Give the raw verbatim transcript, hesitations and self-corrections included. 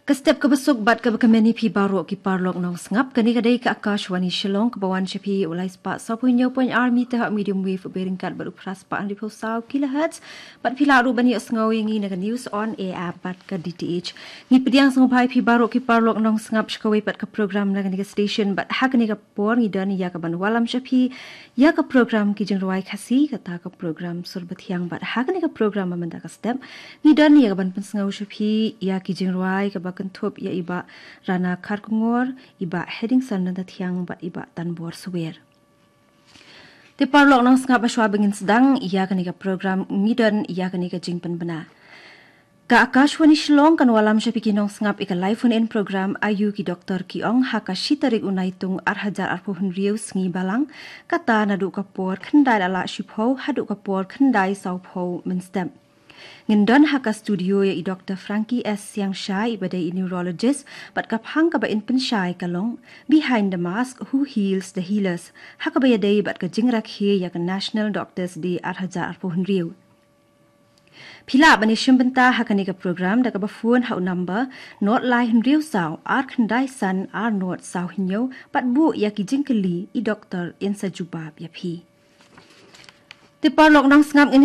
Ka step kaba suk bad kaba kmen ïa phi baroh ki paralok nongsngap, kane ka dei ka Akashvani Shillong kaba wan sha phi u lai spah sawphew hynñiew point ar meter ha medium wave bad ryngkat bad u phra spah hynriew phew saw kilohertz, bad phi lah ruh ban ïohsngew ïa ngi na ka News on Air app bad ka D T H. Ngi pdiang sngewbha ïa phi baroh ki paralok nongsngap sha kawei pat ka program na kane ka station, bad ha kane ka por ngi don ïa kaban wallam sha phi ïa ka program Ki Jingrwai Khasi, kata ka program sur bathiang, bad ha kane ka program ba mynta ka step ngi don ïa kaban pynsngew sha phi ïa ki jingrwai kaba kynthup ïa i Bah Rana Kharkongor, i Bah Hedingson Nangtathiang bad i Bah Tanbor Suwer. Te paralok nongsngap, hashwa ba ngin sdang ïa kane ka program ngi don ïa kane ka jingpynbna. Ka Akashvani Shillong kan wallam sha phi ki nongsngap ïa ka live phone in program Ayu ki Doktor ki Ong ha ka shi tarik u Naitung ar hajar arphew hynriew, sngi Balang, kata naduh ka por khyndai la lah shiphew haduh ka por khyndai sawphew mynstep. Ngin don ha ka studio ïa i Doktor Frankie S Siangshai, iba dei i neurologist, bad ka phang kaba in pynshai ka long Behind the Mask, Who Heals the Healers, ha kaba ïadei bad ka jingrakhe ïa ka National Doctors Day ar hajar arphew hynriew. Phi lah ban ïashim bynta ha kane ka program da kaba phone ha u number nought lai hynriew saw ar khyndai san ar nought saw hynñiew, bad buh ïa ki jingkylli, i doktor yn sa jubab ïa phi. Te paralok nongsngap, ngin